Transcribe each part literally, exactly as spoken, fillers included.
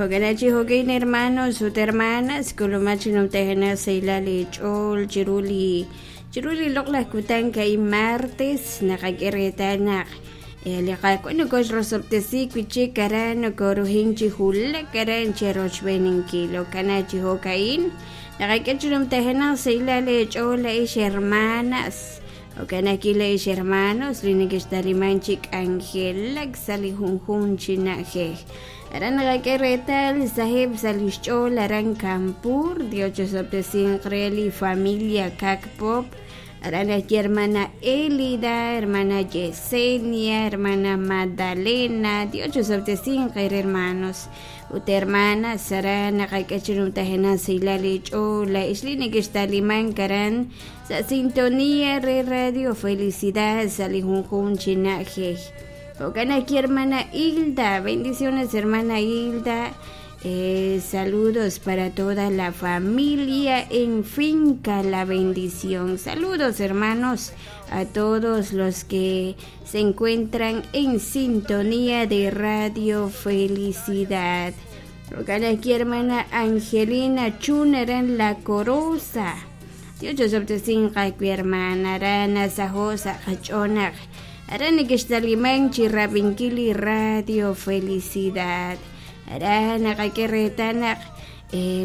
Jo'kan chi jo'kin hermanos ut hermanas k'ulumak chi numtajenaq sahilal eech'ool chiru li chiru li loq'laj kutan ka'in martes naqak'e reetal naq li Qaawa' nokoxrosob'tesi wi' chik aran nokoruhin chi wulak aran cherochb'eeninkil jo'kan chi jo'ka'in naqak'e chi numtajenaq sahilal eech'ool la'ix hermanas jo'kan ajwi' la'ix hermanos li nekextaliman chi k'anjelak sa' li junjunq chi na'ajej aran naqak'e reetal saheb' sa' lix ch'ool aran Campur Dios chosob'tesinq re li familia Kakpop aran ajwi' hermana Elida, hermana Yesenia, hermana Magdalena Dios chosob'tesinq re hermanos ut hermanas aran naqak'e chi numtajenaq sahilal eech'ool la'ix li nekextaliman aran sa' sintonía re Radio Felicidad sa' li junjunq chi na'ajej. Jo'kan ajwi' hermana Hilda, bendiciones hermana Hilda. Eh, saludos para toda la familia en Finca La Bendición. Saludos hermanos a todos los que se encuentran en sintonía de Radio Felicidad. Jo'kan ajwi' hermana Angelina Chun aran La Corosa. Dios chosob'tesinq ajwi' hermana aran nasaho' sa' qach'ool aran nekextaliman chi rab'inkil li Radio Felicidad. Aran naqak'e reetal naq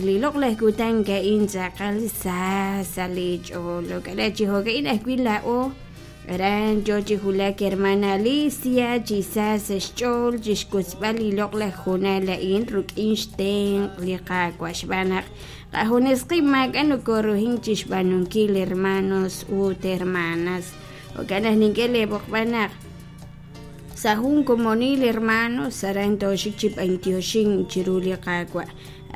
li loq'laj kutan ka'in tz'aqal sa sa' li ch'ool jo'kan chi jo'ka'in ajwi' laa'o aran yo chi wulak hermana Alicia chi sa sa' xch'ool chixkutzb'al li loq'laj hoonal a'in ruk'in xtenq' li Qaawa' xb'aan naq qajunes qib' maak'a' nokoruhin chixb'aanunkil hermanos ut hermanas jo'kan naq nink'e leeb'oqb'al naq sa' jun komonil hermanos aran tooxik chi b'antioxin chiru li Qaawa'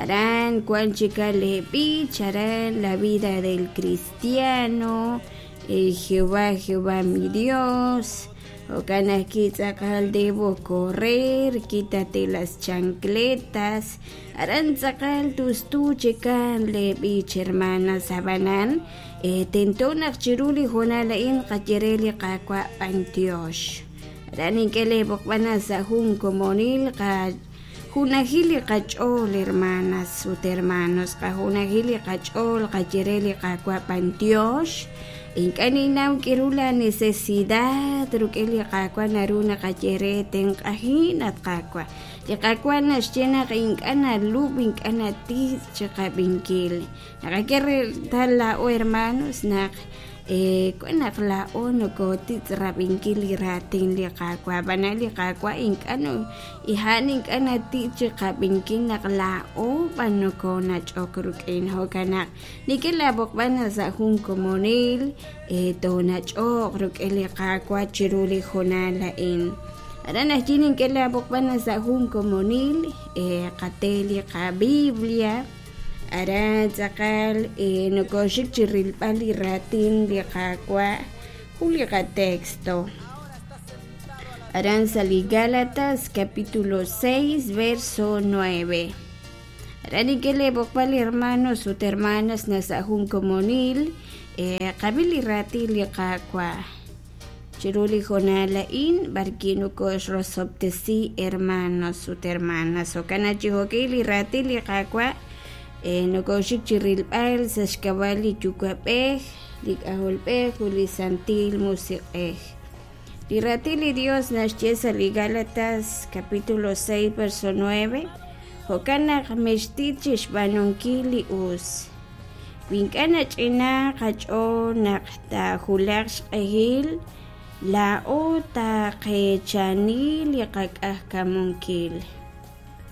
aran wan chika le b'ich aran la vida del cristiano eh, Jehová, Jehová mi Dios jo'kan ajwi' tz'aqal debo correr quítate las chancletas aran tz'aqal tustu chikan le b'ich hermanas ab'anan eh, tento naq chiru li hoonal a'in qaye re li Qaawa' b'antiox aran nink'e leeb'oqb'al sa' jun komonil qa junajil li qach'ool hermanas ut hermanos qajunajil li qach'ool qaye re li Qaawa' b'antiox ink'a' ninnaw k'iru la necesidad ruk'in li Qaawa' naru naqaye re tenq'ajin at Qaawa' li Qaawa' naxye naq ink'a' nalub' ink'a' natitz' chiqab'inkil naqak'e reetal laa'o hermanos naq eh, wan naq laa'o nokotitz' rab'inkil li raatin li Qaawa' ab'anan li Qaawa' ink'a' no ijan ink'a' natitz' chiqab'inkil naq laa'o b'an nokonach'ok ruk'in jo'kan naq nik'e laab'oqb'al sa' jun komonil eh, toonach'oq ruk'in li Qaawa' chiru li hoonal a'in aran ajwi' nink'e laab'oqb'al sa' jun komonil eh, qate li qabiblia aran tz'aqal eh, nokoxik chi rilb'al li raatin li Qaawa' jun li qatexto aran sa' li Gálatas capítulo seis verso nueve aran nink'e leeb'oqb'al hermanos ut hermanas na sa' jun komonil eh, qab'i li raatin li Qaawa' chiru li hoonal a'in b'arwi' nokoxrosob'tesi hermanos ut hermanas jo'kan chi jo'k'i li raatin li Qaawa' eh, nokoxik chi rilb'al sa' xk'ab'a' li Yuwa'b'ej li K'ajolb'ej ut li Santil Musiq'ej li raatin li Dios naxye sa' li Gálatas capítulo seis verso nueve jo'kan naq mextit chixb'aanunkil li us wi ink'a' nach'ina qach'ool naq taajulaq xq'ehil laa'o taqeechani li qak'ajkamunkil